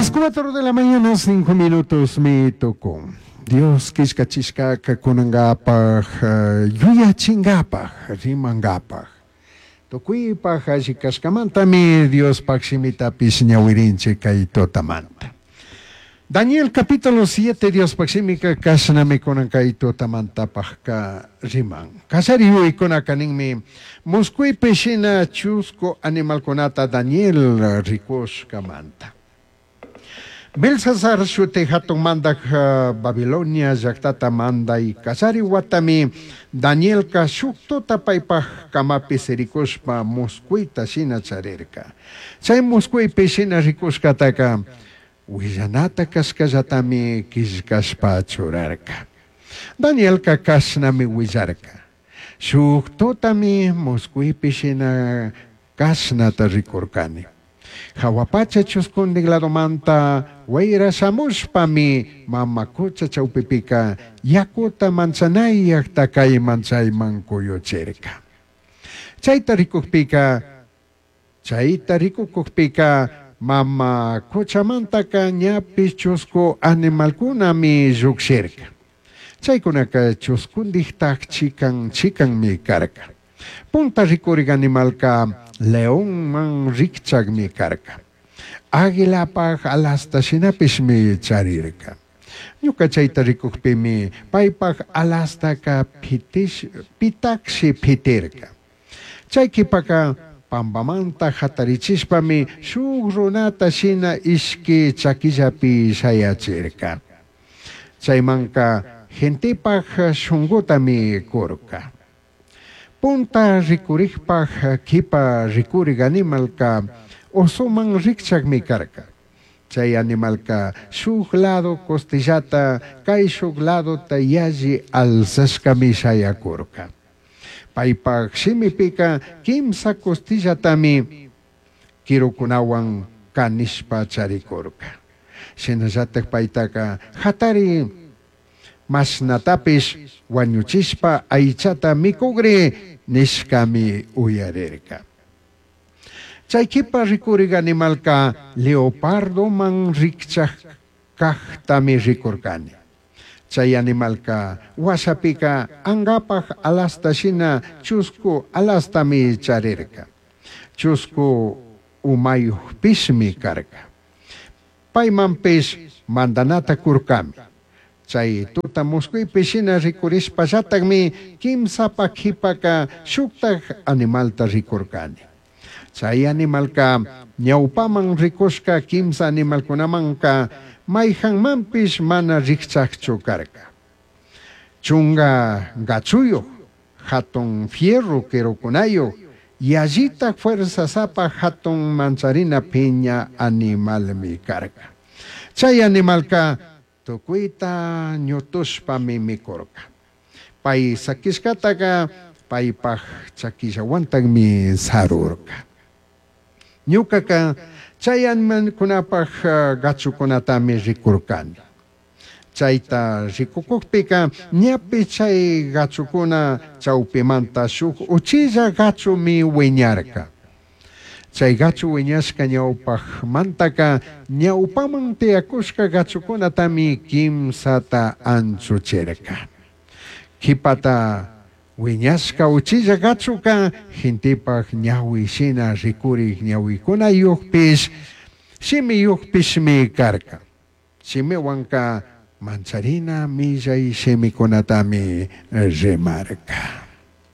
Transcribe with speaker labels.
Speaker 1: Las 4 de la mañana, 5 minutos mi tucun. Dios quillcachishcaca cunangapaj, yuyachingapaj, rimangapaj. Tucuipaj alli cashcamantami Diospaj shimitapish ñahuirinchij cai tutamanta. Daniel capítulo 7 Diospaj shimica cashnami cunan cai tutamantapajca riman. Callari yuyaicunaca ninmi, muscuipi shina chuscu animalcunata Daniel ricushcamanta. Belsasar shuti jatun mandaj Babilonia llajtata mandai callari huatami Danielca shuj tuta paipaj camapi siricushpa muscuita shina charirca. Chai muscuipi shina ricushcataca huillanata cashcallatami quillcashpa churarca. Danielca cashnami huillarca, Shuj tutami muscuipi shina cashnata ricurcani. Jahua pacha chuscundij ladomanta huaira shamushpami mama cucha chaupipica yacuta manchanayajta caiman chaiman cuyuchirca. Chaita ricujpica, Chaita ricucujpica mama cuchamantaca ñapish chuscu animalcunami llujshirca. Chaicunaca chuscundijtaj chican chicanmi carca. Punta ricurij animalca leonman rijchajmi carca. Aguilapaj alasta shinapishmi charirca. Ñuca chaita ricujpimi paipaj alastaca pitajshi pitirca. Chai quipaca pambamanta jatarichishpami shuj runata shina ishqui chaquillapi shayachirca. Chaimanca gentepaj shungutami curca. Punta ricurijpaj quipa ricurij animalca osoman rijchajmi carca. Chai animalca shuj lado costillata caishuj ladota yalli alzashcami shayacurca. Paipaj shimipica quimsa costillatami quirucunahuan canishpa charicurca. Shinallataj paitaca jatari mashnatapish huañuchishpa aichata micugri nishcami uyarirca. Chai quipa ricurij animalca leopardoman rijchaj cajtami ricurcani. Chai animalca huashapica angapaj alasta shina chuscu alastami charirca. Chuscu umayujpishmi carca. Paimanpish mandanata curcami. Chai tuta muscuipi shina ricurishpallatajmi quimsapaj quipaca shujtaj animalta ricurcani. Chai animalca ñaupaman ricushca quimsa animalcunamanca maijanmanpish mana rijchajchu carca. Chunga gachuyuj, jatun fierro quirucunayuj, yallitaj fuerzasapa jatun mancharina piña animalmi carca. Chai animalca tucuita ñutushpami micurca. Pai saquishcataca paipaj chaquillahuantajmi sarurca. Ñucaca chai animalcunapaj gachucunatami ricurcani. Chaita ricucujpica ñapi chai gachucuna chaupimanta shuj uchilla gachumi huiñarca. Chai gachu huiñashca ñaupajmantaca ñaupaman tiyacushca gachucunatami quimsata anchuchirca. Quipata huiñashca uchilla gachuca gentepaj ñahui shina ricurij ñahuicunayujpish shimiyujpishmi carca. Shimihuanca mancharina millai shimicunatami rimarca.